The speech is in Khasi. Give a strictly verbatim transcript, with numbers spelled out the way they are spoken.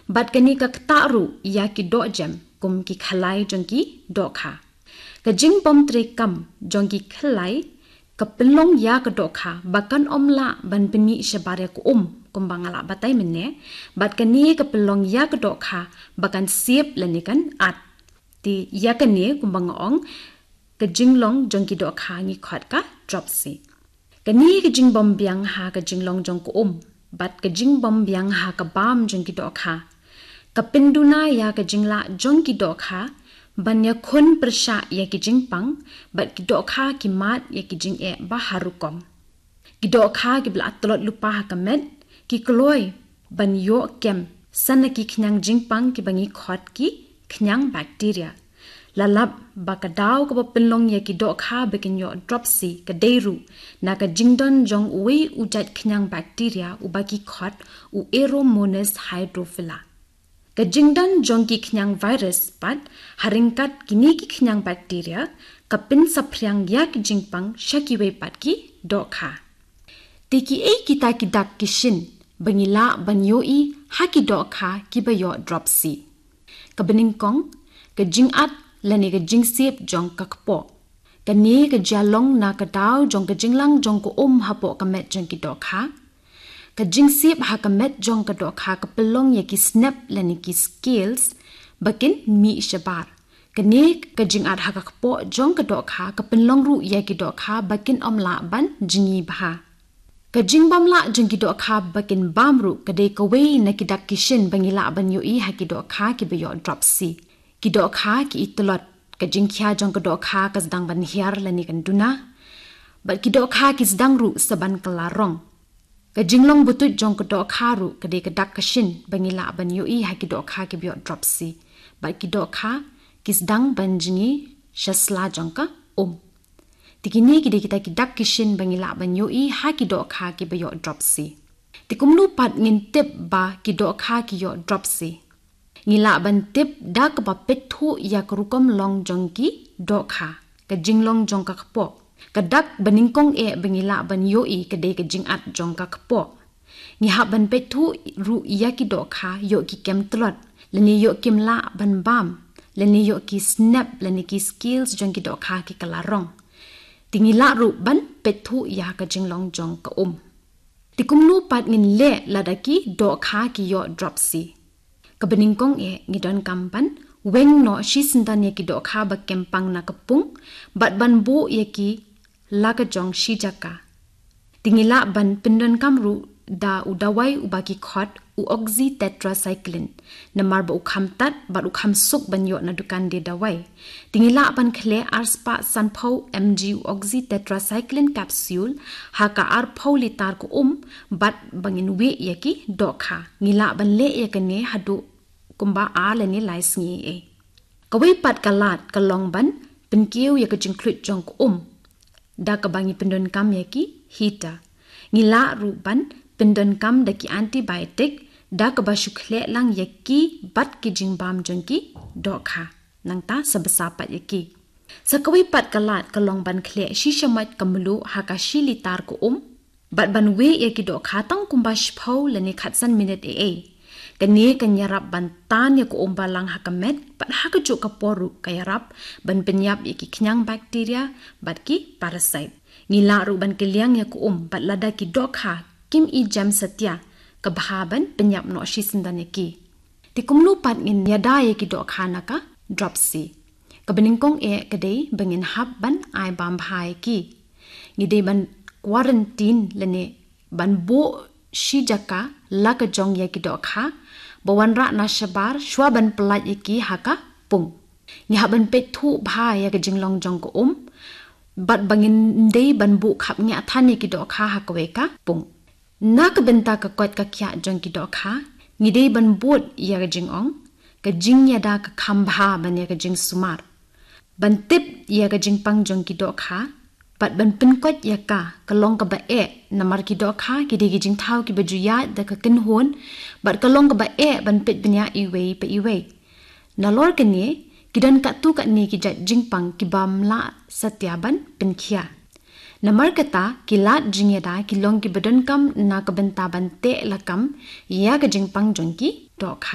Bad kane ka ktah ruh ïa ki dohjem kum ki khlai jong ki dohkha. Ka jingbym treikam jong ki khlai ka pynlong ïa ka dohkha ba kan ym lah ban pynmih shabar ïa ka um, kumba nga la batai mynne, bad kane ka pynlong ïa ka dohkha ba kan sep lane kan at. Te ïa kane kumba nga ong, ka jinglong jong ki dohkha ngi khot ka dropsy. Kane ka jingbym biang ha ka jinglong jong ka um bad ka jingbym biang ha ka bam jong ki dohkha ka pynduna ïa ka jinglah jong ki dohkha ban ïakhun pyrshah ïa ki jingpang, bad ki dohkha ki mad ïa ki jingeh ba har rukom. Ki dohkha kiba la tlot lypa ha ka met ki kloi ban ïoh kem san na ki khñiang jingpang kiba ngi khot ki khñiang bakteria. La lap ba ka daw kaba pynlong ïa ki dohkha ba kin ïoh dropsy ka dei ruh na ka jingdon jong uwei u jait khñiang bakteria uba ki khot u Aeromonas hydrophila. Ka jingdon jong ki khñiang virus pat, ha ryngkat kine ki khñiang bakteria, ka pynsaphriang ïa ki jingpang sha kiwei pat ki dohkha. Te kiei kita ki dak ki shin ba ngi lah ban ïohi ha ki dohkha kiba ïoh dropsy? Kaba nyngkong, ka jingat lane ka jingsep jong ka kpoh. Kane ka jia long na ka daw jong ka jinglang jong ka um hapoh ka met jong ki dohkha. Ka jingsep ha ka met jong ka dohkha ka pynlong ïa ki snep lane ki scales ba kin mih shabar. Kane ka jingat ha ka kpoh jong ka dohkha ka pynlong ruh ïa ki dohkha ba kin ym lah ban jngi bha. Ka jingbym lah jong ki dohkha ba kin bam ruh ka dei kawei na ki dak ki shin ba ngi lah ban ïohi ha ki dohkha kiba ïoh dropsy. Ki dohkha ki i tlot, ka jingkhia jong ka dohkha ka sdang ban hiar lane kan duna. Bad ki dohkha ki sdang ruh sa ban kylla rong. Ka jinglong butut jong ka dohkha ruh ka dei ka dak ka shin ba ngi lah ban ïohi ha ki dohkha kiba ïoh dropsy. Bad ki dohkha ki sdang ban jngi sha sla jong ka um. Te kine ki dei kita ki dak ki shin ba ngi lah ban ïohi ha ki dohkha kiba ïoh dropsy. Te kumno pat ngin tip ba ki dohkha ki ïoh dropsy? Ngi lah ban tip da kaba peit thuh ïa ka rukom long jong ki dohkha, ka jinglong jong ka kpoh. Ka dak ba nyngkong eh ba ngi lah ban ïohi ka dei ka jingat jong ka kpoh. Ngi hap ban peit thuh ruh ïa ki dohkha ïoh ki kem tlot, lane ïoh kim lah ban bam, lane ïoh ki snep lane ki scales jong ki dohkha ki kylla rong. Te ngi lah ruh ban peit thuh ïa ka jinglong jong ka um. Te kumno pat ngin leh lada ki dohkha ki ïoh dropsy? Kaba nyngkong eh ngi donkam ban weng noh shisyndon ïa ki dohkha ba kem pang na ka pung bad ban buh ïa ki la ka jong shi jaka. Te ngi lah ban pyndonkam ruh da u dawai uba ki khot u oxytetracycline. Namar ba u kham tad bad u kham suk ban ïoh na dukan die dawai. Te ngi lah ban khleh arspah sanphew mg u oxytetracycline capsule ha ka arphew litar ka um bad ba ngin wieh ïa ki dohkha. Ngi lah ban leh ïa kane haduh kumba ar lane lai sngi ei. Kawei pat ka lad ka long ban pynkiew ïa ka jingkhluit jong ka um da kaba ngi pyndonkam ïa ki heater. Ngi lah ruh ban pyndonkam da ki antibiotic da kaba shu khleh lang ïa ki bad ki jingbam jong ki dohkha. Nangta sa bsa pat ïa ki. Sa kawei pat ka lad ka long ban khleh shisha mait ka mluh ha ka shi litar ka um. Bad ban wieh ïa ki dohkha tang kumba shiphew lane khatsan minit ei ei. Kane kan ïarap ban tan ïa ka um balang ha ka met, bad ha kajuh ka por ruh ka ïarap ban pynïap ïa ki khñiang bakteria bad ki parasite. Ngi lah ruh ban kylliang ïa ka um bad lada ki dohkha kim i jem satia, ka bha ban pynïap noh shisyndon ïa ki. Te kumno pat ngin ïada ïa ki dohkha na ka dropsy? Kaba nyngkong eh ka dei ba ngin hap ban ai bam bha ïa ki. Ngi dei ban quarantine lane ban buh shi jaka la ka jong ïa ki dohkha ba wanrah na shabar shuwa ban pyllait ïa ki ha ka pung. Ngi hap ban peit thuh bha ïa ka jinglong jong ka um bad ba ngin dei ban buh khapngiah than ïa ki dohkha ha kawei ka pung. Na ka bynta ka koit ka khiah jong ki dohkha, ngi dei ban bud ïa ka jingong, ka jingïada ka kham bha ban ïa ka jingsumar. Ban tip ïa ka jingpang jong ki dohkha bad ban pynkoit ïa ka, ka long kaba eh, namar ki dohkha ki dei ki jingthaw kiba ju ïaid da ka kynhun bad ka long kaba eh ban peit bniah iwei pa iwei. Nalor kane, ki don katto katne ki jait jingpang kibym lah satia ban pynkhiah. Namar kata, ki lad jingïada ki long kiba donkam na ka bynta ban teh lakam ïa ka jingpang jong ki dohkha.